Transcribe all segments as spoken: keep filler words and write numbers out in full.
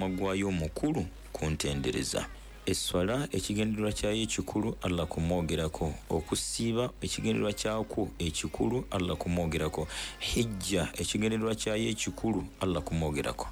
Omulamwa gwayo omukulu kuntendereza. Esswala ekigendererwa kyayo ekikulu Allah kumwogerako, okusiiba ekigendererwa kyakwo ekikulu Allah kumwogerako, hijja ekigendererwa kyayo ekikulu Allah kumwogerako.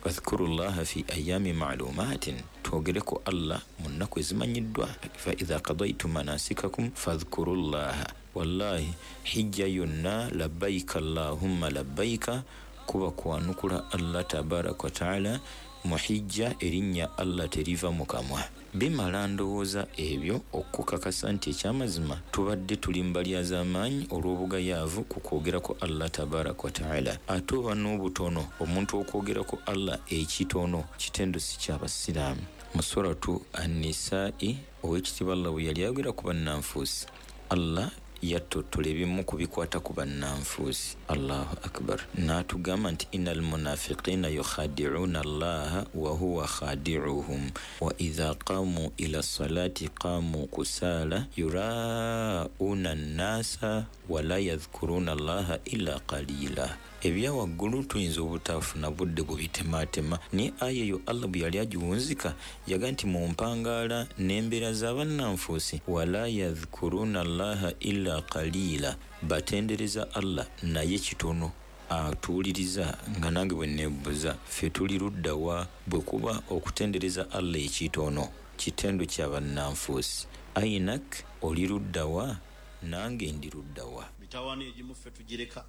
Wadhkurullaha fi ayami ma'lumatin, twogereko Allah mu nnaku ezimanyiddwa. Fa idha qadaytum manasikakum fadhkurullaha. Wallahi hijja yonna labbaika allahumma labbaika kuba kwanukula Allah tabaraka wa taala. Mu hijja erinnya Allah teriva mu kamwa. Bimala ndowooza ebyo okukakasa nti ekyamazima tubadde tuli mu balyazaamaanyi olw'obugayaavu ku kwogerako Allah tabaraka wa taala. Ate oba n'obutono omuntu okwogerako Allah ekitono kitendo si ky'abasiraamu. Mu suratu An-Nisa'i ow'ekitiibwa Allah bwe yali ayogera ku bannanfuusi, Allah yattottola ebimu ku bikwata ku bannanfuusi. Allahu akbar. N'atugamba nti innal munafiqina yukhadi'una Allaha wa huwa khadi'uhum wa idha qamu ila salati qamu kusala yura'una an-nasa wa la yadhkuruna Allaha illa qalila. Ebya waggulu tuyinza obutafuna budde bubitematema, naye aya eyo Allah bwe yali agiwunzika yaga nti mu mpangaala n'embeera z'abannanfuusi wala yadhkuruna Allaha illa qalila, batendereza Allah naye kitono. Atuwuliriza nga nange bwe neebuuza ffe tuli ludda wa bwe kuba okutendereza Allah ekitono kitendo kya bannanfuusi. Ainak oli ludda wa nange ndi ludda wa. Mitawaana egimu ffe tugireka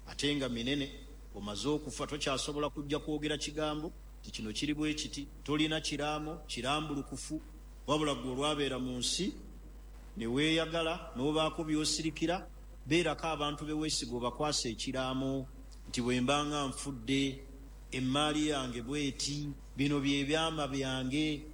ate nga minene. Omaze okufa tokyasobola kujja kwogera kigambo nti kino kiri bwe kiti, tolina kiraamo kirambulukufu, wabula gwe olwabeera mu nsi ne weeyagala n'obaako by'osirikira. Beerako abantu be weesiga obakwasa ekiraamo nti bwe mbanga nfudde emmaali yange bweti, bino bye byama byange,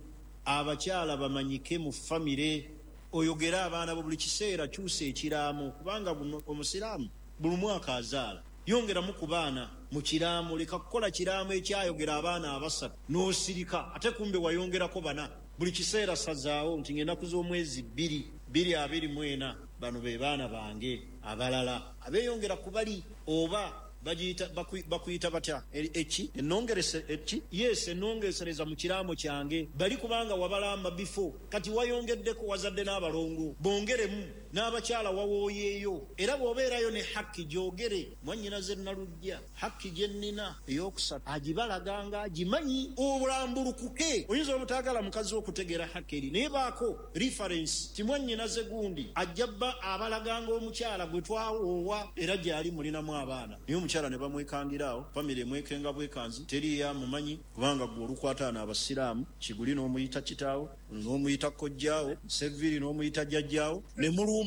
abakyala bamanyike mu famire, oyogere abaana bo buli kiseera, kyusa ekiraamo kubanga omusiraamu buli mwaka azaala. Yongeramu ku baana mu kiraamo, leka kukola kiraamo ekyayogera abaana abasatu n'osirika ate kumbe wayongerako bana. Buli kiseera sazaawo nti ng'ennaku z'omwezi bbiri bbiri abiri mu ena bano be baana bange abalala abeeyongera ku bali oba bagiyita bakuyita batya eki ennongerese eki yes ennongesereza mu kiraamo kyange bali kubanga wabalamba before kati wayongeddeko wazadde n'abalongo bongeremu n'abakyala wawooyeeyo. Era bw'obeerayo ne hakki gyogere, mwannyinaze Nalujja hakki gye nnina ey'okusatu agibalaganga agimanyi obulambulukuke. Oyinza obutaagala mukazi okutegeera hakki eri naye baako reference ti mwannyinaze gundi ajja bba abalaganga omukyala gwe twawoowa era gy'ali mulinamu abaana naye omukyala ne bamwekangiraawo famire emwekenga bwekanzi teriyo amumanyi kubanga gwe olukwataana abasiraamu Kiguli n'omuyita kitaawo n'omuyita kojjaawo Seviri n'omuyita jjajjaawo ne mulumba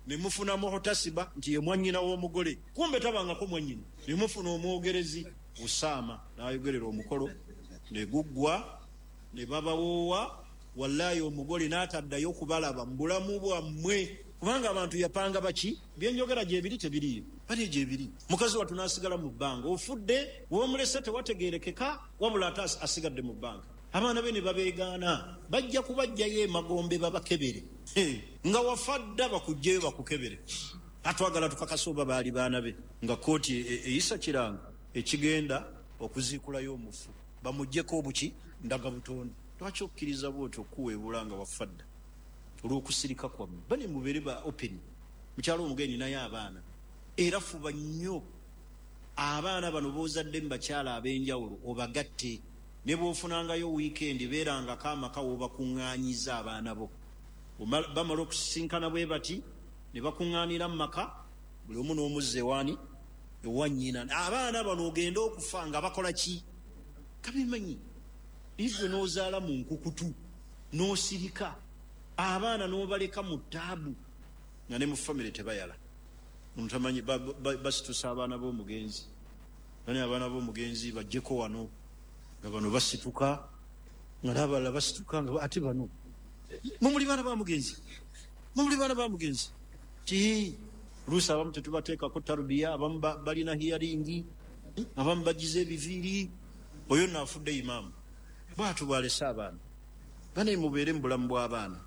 ne mufuna muhutasiba nti ye mwannyina w'omugole kumbe tabangako mwannyina ne mufuna omwogerezi Usaama n'ayogerera omukolo ne guggwa ne babawoowa. Wallahi omugole n'ataddayo okubalaba mu bulamu bwammwe kubanga abantu yapanga baki byenjogera gyebiri tebiriyo bali gyebiri. Mukazi wattu n'asigala mu bbanga, ofudde w'omulese tewategeerekeka wabula ate asigadde mu bbanga. Abaana be ne babeegaana bajja kubajjayo emagombe babakebere nga wafa dda bakuggyeyo bakukebere. Atwagala tukakase oba baali baana be nga kkooti eyisa kiranga ekigenda okuziikulayo omufu bamuggyeko obuki ndagabutonde. Lwaki okkiriza bw'otyo okuweebula nga wafa dda olw'okusirika kwammwe? Bane mubeere ba open. Mukyalo omugenyi naye abaana era fuba nnyo abaana bano b'ozadde mu bakyala ab'enjawulo obagatte. Ne bw'ofunangayo wiikendi beerangako amaka w'obakuŋŋaanyiza abaana bo. Bamala okusisinkana bwe bati ne bakuŋŋaanira mu maka buli omu n'omuzza ewaani ewa nnyina. Abaana bano ogenda okufa nga bakola ki? Kabimanyi. Igwe n'ozaala mu nkukutu n'osirika abaana n'obaleka mu ttaabu nga ne mu famire tebayala. Omuntu basitusa abaana b'omugenzi, bani abaana b'omugenzi bajjeko wano nga bano basituka nga n'abalala basituka nga ate bano mumuli baana ba mugenzi, mumuli baana ba mugenzi ti luusi abamu tetubateekako tarubiya, abamu balina hiyaringi, abamu bagize ebiviiri. Oyo nno afudde imaamu bw'atyo bw'alese abaana. Bane mubeere mu bulamu bw'abaana.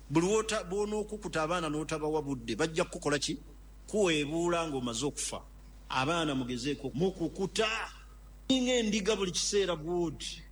Buli bw'onookukuta abaana n'otabawa budde bajja kukukola ki? Kuweebuula ng'omaze okufa. Abaana mugezeeko mukukuta ng'endiga buli kiseera bw'oti.